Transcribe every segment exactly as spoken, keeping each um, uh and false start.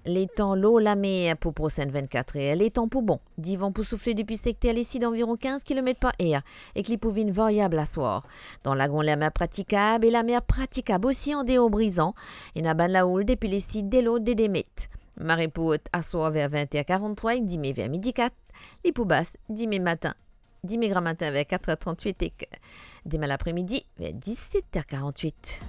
Letan lor lamer pou prosenn vennkat er, letan pou bon. Divan pou soufle depi sekter lesid anviron kinz kilomet par er ek li pou vinn variab aswar. Dan Lagon, lamer pratikab e lamer pratikab osi andeor Brizan. Ena bann laoul depi lesid de lord de de met. Mare pou ot aswar ver vinte er karanntrwa ek dime ver midi kat. Li pou bas dime matin, dime gramatin ver kat er trannwit ek demin lapremidi ver diset er karannwit.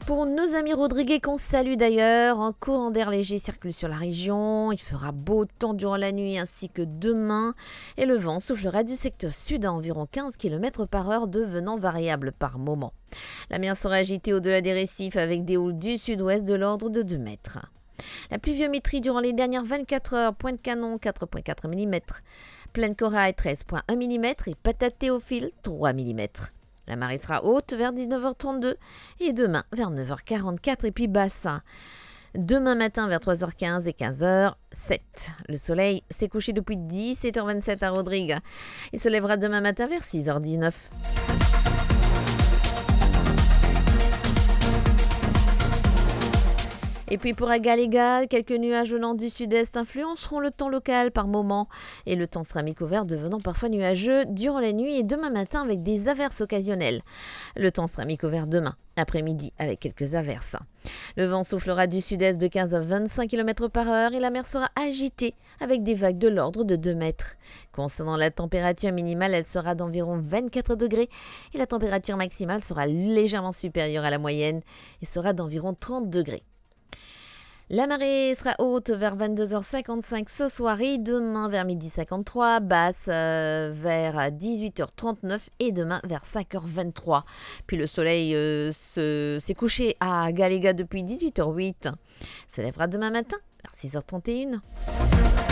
Pour nos amis rodriguais qu'on salue d'ailleurs, un courant d'air léger circule sur la région. Il fera beau temps durant la nuit ainsi que demain et le vent soufflera du secteur sud à environ quinze kilomètres par heure, devenant variable par moments. La mer sera agitée au-delà des récifs avec des houles du sud-ouest de l'ordre de deux mètres. La pluviométrie durant les dernières vingt-quatre heures, Pointe-Canon, quatre point quatre millimètres, Plaine Corail, treize point un millimètres et Patate Théophile, trois millimètres. La marée sera haute vers dix-neuf heures trente-deux et demain vers neuf heures quarante-quatre et puis basse. Demain matin vers trois heures quinze et quinze heures sept. Le soleil s'est couché depuis dix-sept heures vingt-sept à Rodrigues. Il se lèvera demain matin vers six heures dix-neuf. Et puis pour Agalega, quelques nuages venant du sud-est influenceront le temps local par moments et le temps sera mi-couvert devenant parfois nuageux durant la nuit et demain matin avec des averses occasionnelles. Le temps sera mi-couvert demain après-midi avec quelques averses. Le vent soufflera du sud-est de quinze à vingt-cinq kilomètres par heure et la mer sera agitée avec des vagues de l'ordre de deux mètres. Concernant la température minimale, elle sera d'environ vingt-quatre degrés et la température maximale sera légèrement supérieure à la moyenne et sera d'environ trente degrés. La marée sera haute vers vingt-deux heures cinquante-cinq ce soir et demain vers midi cinquante-trois, basse, euh, vers dix-huit heures trente-neuf et demain vers cinq heures vingt-trois. Puis le soleil, euh, se, s'est couché à Agalega depuis dix-huit heures huit. Se lèvera demain matin vers six heures trente et une.